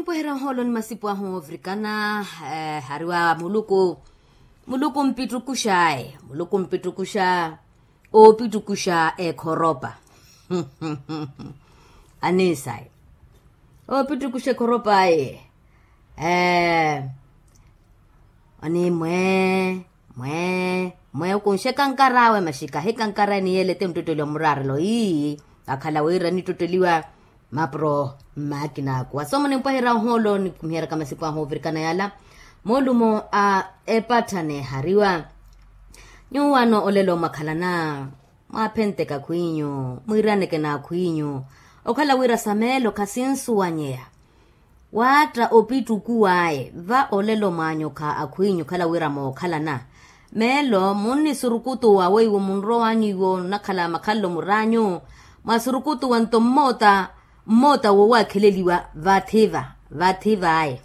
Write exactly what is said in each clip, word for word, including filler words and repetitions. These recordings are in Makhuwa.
Nipweherya ohoolo ni masipu ahu ovirikana. Hariwa muluku, muluku mpittukuxaye muluku mpittukuxa, oopittukuxa ekhoropa. Anisayi, oopittukuxa ekhoropa aye. Ee, onimwe, mwe, mwe okunxe ekankar'awe maxika ahikankar'aye ni yelete onttottoliwa muraarelo ii, akhala wira anittottoliwa. Mapuro mmaakina aku wasomo nimpwahira ohoolo nikumiheryaka masipu ahu ovirikana yala. Moolumo a epatthane ehariwa. Nyuwano olelo mwakhalana, mwaphenteka akhw'inyu, mwiiraneke n'akhw'inyu. Okhala wira sa meelo khasinsuwanyeya. Waatta opittukuw'aye va olelo mwaanyokha akhw'inyu okhala wira mookhalana. Meelo munnisurukutuwa weiwo munrow'anyu iwo nnakhala makhalelo mur'anyu. Mwasurukutuwa nto mmoota, mmoota woowakheleliwa vathiva, vathiv'aye.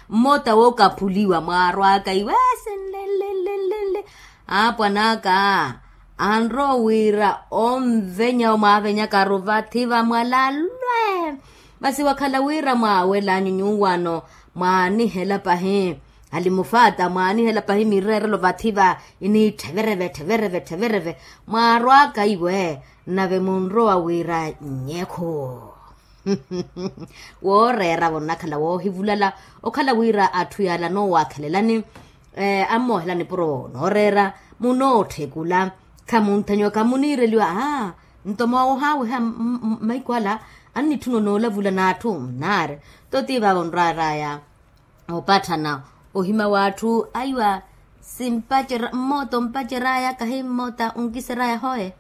Mmoota wookaphuliwa mwaarw'aka iwe, senlelelelele. Aapwan'aka anrowa wira onvenya omwavenyakaru vathi vamwalalwe. Masi wakhala wira mwaawel'anyu nyuwano, mwaanihela pahi alimufata mwaanihela pahi mireerelo vathi va iniitthe vereve tthe vereve tthe vereve. Mwaarw'aka iwe, nave munrowa wira nyekhu. Wooreera-vo nnakhala woohivulala. Okhala wira atthu yala noowakhelelani, ammoohela nipuro nooreera, munootthekula, khamunthanyiwa khamuniireliwa. Aa, nto moohaawiha mahiku ala annitthuna onoolavula n'atthu nnaari. Toti vaavo nrwar'aya opatthana ohima w'atthu aiwa. Simpacera mmoota ompacer'aya kahi mmoota onkiser'aya hoye.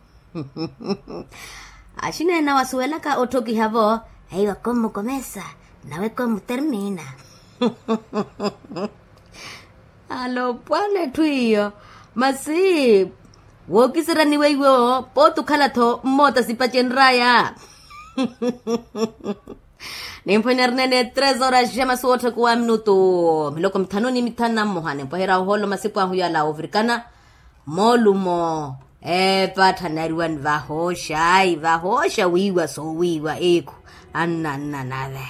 Axineene awo asuwelaka otthokiha-vo, aiwa komukomesa nawe komutermina. Alopwana etthu iyo. Masi wookiserya ni weiwo pooti okhala-tho mmoota sipacenr'aya. Nimphwenya rineene tres horas ja masi wootthakuwa minutu miloko mithanu ni mithanu na mmoha nimpweherya ohoolo masipu ahu yala ovirikana. Moolumo epatthanariwani vahooxa ayi vahooxa wiiwa soowiiwa ekhu. Anna anna nave.